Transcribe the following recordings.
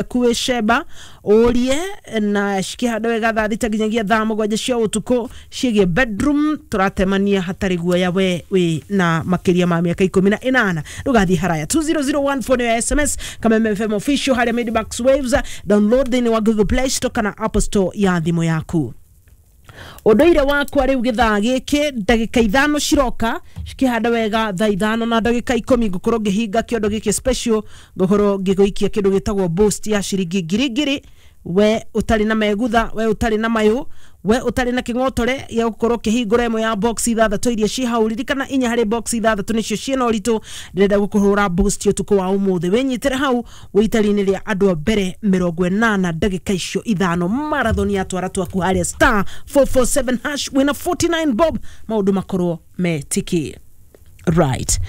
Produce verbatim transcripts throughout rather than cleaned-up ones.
Ciaku Sheba ũrie na cikĩhanda wega thaa thita nginyagia thaa mũgwanja cia ũtukũ ciĩgiĩ bedroom. Tũratemania hatarĩ guoya. We wĩ na makĩria ma mĩaka ikũmi na ĩnana, ndũgathiĩ haraya. two zero zero one four nĩyo S M S. Kameme F M official harĩa Medimax Waves, download thĩinĩ wa Google Play Store kana Apple Store ya thimũ yaku. Ũndũire wakwa rĩu gĩthaa gĩkĩ, ndagĩka ithano ciroka cikĩhanda wega thaa ithano na ndagĩka ikũmi, ngũkorwo ngĩhinga kĩondo gĩkĩ special, ngũkorwo ngĩgũikia kĩndũ gĩtagwo boost ya ciringi ngiri ngiri. We ũtarĩ na megutha, we ũtarĩ na mayũ, we ũtarĩ na kĩng'otore gĩa gũkorwo ũkĩhingũra ĩmwe ya box ithathatũ iria ciĩ hau. Ririkana inya harĩ box ithathatũ nĩcio ciĩna ũritũ. Ndĩrenda gũkũhũra boost ũtukũ wa ũmũthĩ. Wĩnyitĩre hau wĩitari-inĩ rĩa andũ a mbere mĩrongo ĩnana, ndagĩka icio ithano, marathon ya twara twaku harĩa star four four seven hash wĩna forty-nine bob, maũndũ makorwo metiki. Right,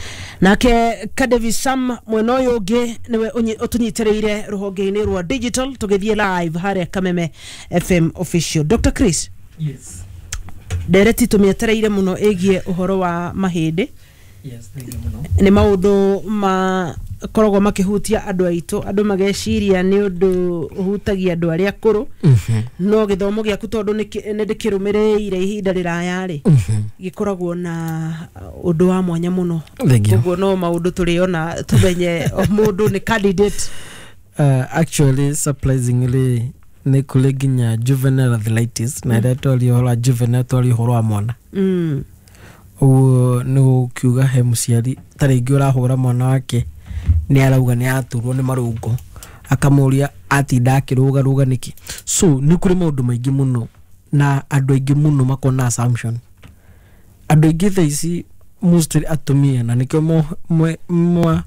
nake Kadevi Sam mwena ũyũ ũngĩ nĩwe ũnyi- ũtũnyitĩrĩire rũhonge-inĩ rwa digital tũgĩthiĩ live harĩa Kameme F M official. Doctor Chris. Yes. Ndereti tũmĩetereire mũno ĩgiĩ ũhoro wa mahĩndĩ. Yes, thank you mũno. Nĩ maũndũ makoragwo makĩhutia andũ aitũ, andũ mageciria nĩ ũndũ ũhutagia andũ arĩa akũrũ, no gĩthomo gĩaku, tondũ nĩ nĩ ndĩkĩrũmĩrĩire ihinda rĩraya rĩ, gĩkoragwo na ũndũ wa mwanya mũno. Thank you. Koguo no maũndũ tũrĩona tũmenye o mũndũ nĩ candidate. Uh, actually surprisingly, nĩ kũrĩ nginya juvenile arthritis, na ĩrĩa twaria ũhoro wa juvenile, twaria ũhoro wa mwana. mm. Ũguo nĩ gũkiuga he mũciari ta rĩngĩ ũrahũra mwana wake, nĩ arauga nĩ aturwo nĩ marũngo, akamũria atinda akĩrũgarũga nĩkĩ. So nĩ kũrĩ maũndũ maingĩ mũno na andũ aingĩ mũno makona assumption. Andũ aingĩ thaa ici, mostly atumia, na nĩkĩo mo- mwe- mwa-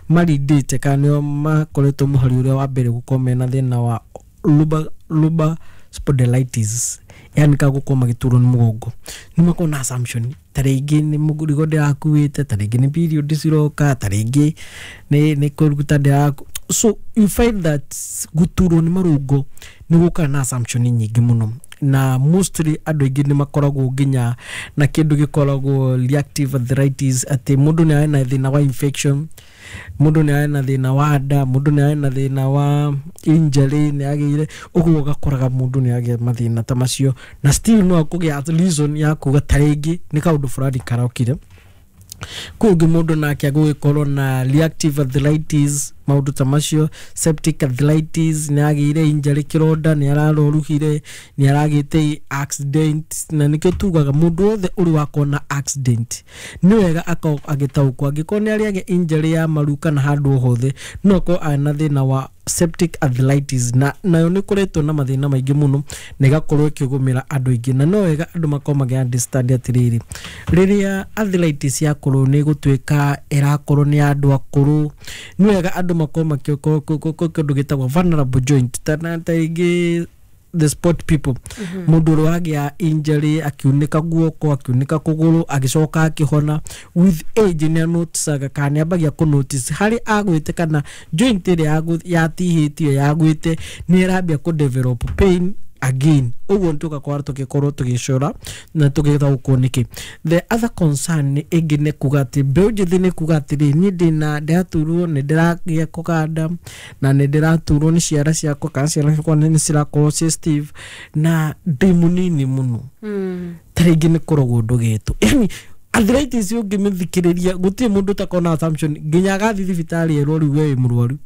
marindĩte kana nĩo makoretwo mũhari ũrĩa wa mbere gũkorwo mena thĩna wa lumbar, lumbar spondylitis, yani ka gũkorwo magĩturwo nĩ mũgongo. Nĩ makorwo na assumption ta rĩngĩ nĩ mũrigo ndĩrakuĩte, ta rĩngĩ nĩ period ciroka, ta rĩngĩ nĩ nĩ kũruta ndĩraku. So you find that gũturwo nĩ marũngo nĩ gũkaga na assumption nyingĩ mũno, na mostly andũ aingĩ nĩ makoragwo nginya na kĩndũ gĩkoragwo reactive arthritis, atĩ mũndũ nĩ arĩ na thĩna wa infection, mũndũ nĩ arĩ na thĩna wa nda, mũndũ nĩ arĩ na thĩna wa injury nĩ agĩire. Ũguo ũgakoraga mũndũ nĩ agĩa mathĩna ta macio na still no akũgĩa reason ya kuga ta rĩngĩ nĩ kaũndũ fulani karokire. Kũngĩ mũndũ nake agũgĩkorwo na reactive arthritis, maũndũ ta macio, septic arthritis, nĩ agĩire injury, kĩronda, nĩ araroruhire, nĩ aragĩte accident. Na nĩkĩo tugaga mũndũ wothe ũrĩ wakorwo na accident nĩ wega akorwo agĩtaũkwo, angĩkorwo nĩ arĩ agĩa injury ya maru kana handũ o hothe, no akorwo arĩ na thĩna wa septic arthritis, na nayo nĩ koretwo na mathĩna maingĩ mũno na ĩgakorwo ĩkĩgũmĩra andũ aingĩ. Na no wega andũ makorwo magĩ understand atĩrĩrĩ, rĩrĩa arthritis yakorwo nĩ gũtuĩka ĩrakorwo nĩ andũ akũrũ, nĩ wega andũ makorwo makĩkorwo kĩndũ gĩtagwo vulnerable joint, ta na ta rĩngĩ the sport people, mũndũ ũrĩa wagĩa injury, akiunĩka guoko, akiunĩka kũgũrũ, agĩcoka akĩhona, with age nĩ anoticaga kana nĩ ambagia kũ notice harĩ agwĩte kana joint ĩrĩa yagũ- yatihĩtio yagwĩte nĩ ĩrambia kũ develop pain again. Ũguo nĩ tũgakorwo tũgĩkorwo tũgĩcora na tũgĩtaũkwo nĩkĩ. The other concern nĩ ĩngĩ nĩ kuga atĩ mbeũ njĩthĩ nĩ kuga atĩrĩ, niĩ ndĩna ndĩraturwo, nĩ ndĩragĩa kũganda na nĩ ndĩraturwo nĩ ciara ciakwa kana ciara ciakwa nĩ cirakorwo ciĩ stiff na ndĩ mũnini mũno, ta rĩngĩ nĩ kũrogwo ndũgĩtwo. Yani arthritis ũngĩmĩthikĩrĩria, gũtirĩ mũndũ ũtakorwo na assumption nginya agathiĩ thibitarĩ erwo rĩu we wĩ mũrwaru.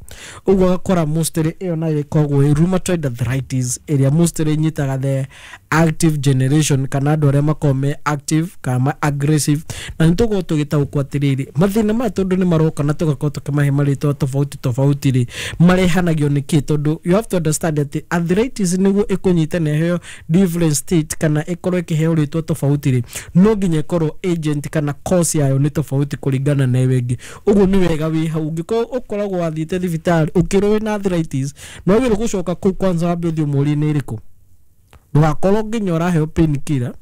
Ũguo agakora mostly ĩyo nayo ĩkoragwo ĩ rheumatoid arthritis, ĩrĩa mostly ĩnyitaga the active generation kana andũ arĩa makoragwo me active kana ma aggressive. Na nĩ tũkorwo tũgĩtaũkwo atĩrĩrĩ, mathĩna maya tondũ nĩ maroka na tũgakorwo tũkĩmahe marĩtwa tofauti tofauti rĩ, marehanagio nĩ kĩ? Tondũ you have to understand atĩ arthritis nĩguo ĩkũnyita na ĩheo different state kana ĩkorwo ĩkĩheo rĩtwa tofauti rĩ, no nginya ĩkorwo agent kana cause yayo nĩ tofauti kũringana na ĩyo ĩngĩ. Ũguo nĩ wega wĩ hau, ũngĩkorwo ũkoragwo wathiĩte thibitarĩ ũkĩrwo wĩna arthritis, no wagĩrĩirwo gũcoka kũu kwanza wambe ũthiĩ ũmũrie nĩ ĩrĩkũ, ndũgakorwo nginya ũraheo painkiller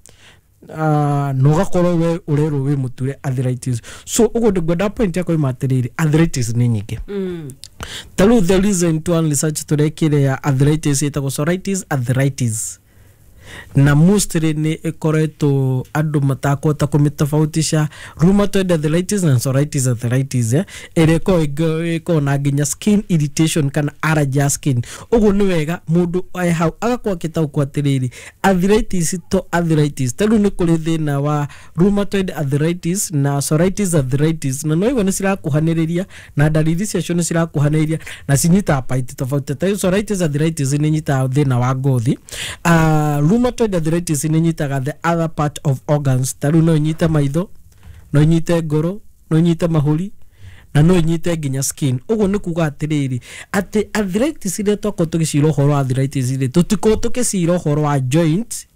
uh, na ũgakorwo we ũrerwo wĩ mũture arthritis. So ũguo ngwenda point yakwa ima atĩrĩrĩ, arthritis nĩ nyingĩ. Ta rĩu the recent one research tũrekire ya arthritis ĩtagwo psoriatic arthritis. Na mostly nĩ ĩkoretwo andũ matakũhota kũmĩtofautisha rheumatoid arthritis na psoriasis arthritis, eh, ĩrĩa ĩkoragwo ĩkoragwo na nginya skin irritation kana allergy ya skin. Ũguo nĩ wega mũndũ e hau agakorwo akĩtaũkwo atĩrĩrĩ, arthritis to arthritis. Ta rĩu nĩ kũrĩ thĩna wa rheumatoid arthritis na psoriasis arthritis, na no igua nĩ cirakuhanĩrĩria na ndariri ciacio nĩ cirakuhanĩrĩria na cinyitaga part tofauti. Ta rĩu psoriasis arthritis nĩ ĩnyitaga thĩna wa ngothi, uh, rheumatoid arthritis nĩ ĩnyitaga the other part of organs. Ta rĩu no ĩnyite maitho, no ĩnyite ngoro, no ĩnyite mahũri na no ĩnyite nginya skin. Ũguo nĩ kuga atĩrĩrĩ, atĩ arthritis iria twakorwo tũgĩcira ũhoro wa arthritis rĩ, tũtikorwo tũgĩcira ũhoro wa joint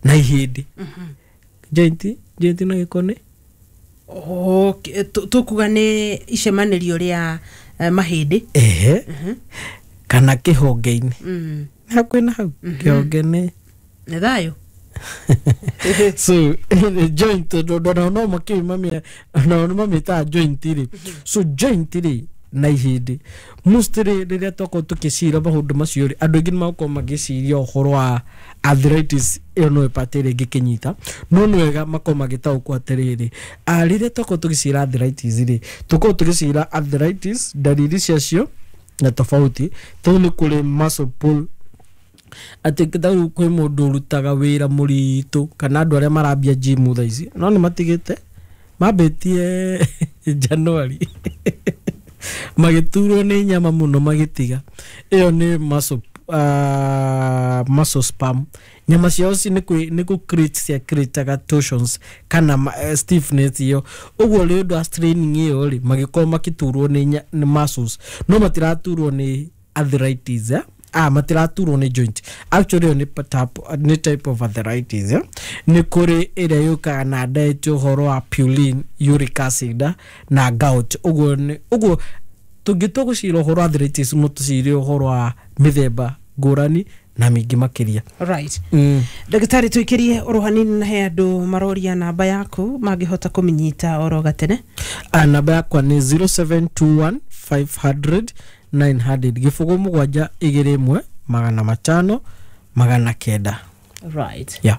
na ihĩndĩ. Joint, joint na gĩko nĩ Okay, tu- tukuga nĩ icemanĩrio rĩa eh, mahĩndĩ. Ehe, kana kĩhonge-inĩ. Mm. Nĩ hakuhĩ na hau kĩhonge nĩ Nĩ thayũ. So joint, tondũ no makĩu nao nĩ mamĩtaga joint rĩ. So joint rĩ na ihĩndĩ, mostly rĩrĩa twakorwo tũkĩcira maũndũ macio rĩ, andũ aingĩ nĩ makorwo magĩciria ũhoro wa arthritis ĩyo no ĩpate ĩrĩa ĩngĩkĩnyita. No nĩ wega makorwo magĩtaũkwo atĩrĩrĩ, ah, rĩrĩa twakorwo tũgĩcira arthritis rĩ, tũkorwo tũgĩcira arthritis ndariri ciacio na tofauti, tondũ nĩ kũrĩ muscle pull, atĩ tarĩu kwĩ mũndũ ũrutaga wĩra mũritũ kana andũ arĩa marambia gym thaa ici, no nĩ matigĩte, mambĩtie January magĩturwo nĩ nyama mũno magĩtiga. Ĩyo nĩ muscle, uh, muscle spasm. Nyama ciao ci nĩ kwĩ- nĩ kũ create cia creataga torsions kana ma- eh, stiffness ĩyo. Ũguo rĩ ũndũ wa straining ĩyo rĩ, magĩkorwo makĩturwo nĩ nya- nĩ muscles, no matiraturwo nĩ arthritis, eh? Ah, matiraturwo nĩ joint. Actually ĩyo nĩ pa- type- nĩ type of arthritis, eh? Nĩ kũrĩ ĩrĩa yũkaga na diet, ũhoro wa purine, uric acid, ah, na gout. Ũguo nĩ ũguo tũngĩtua gũcira ũhoro wa arthritis, no tũcire ũhoro wa mĩthemba ngũrani na mĩingĩ makĩria. Right. mm. Ndagĩtarĩ, tũikĩrie oro hanini na he andũ maroria namba yaku mangĩhota kũmĩnyita oro gatene. Ah, namba yakwa nĩ zero seven two one five hundred nine hundred, gĩbũgũ mũgwanja igĩrĩ ĩmwe magana matano magana kenda. Right. Yeah.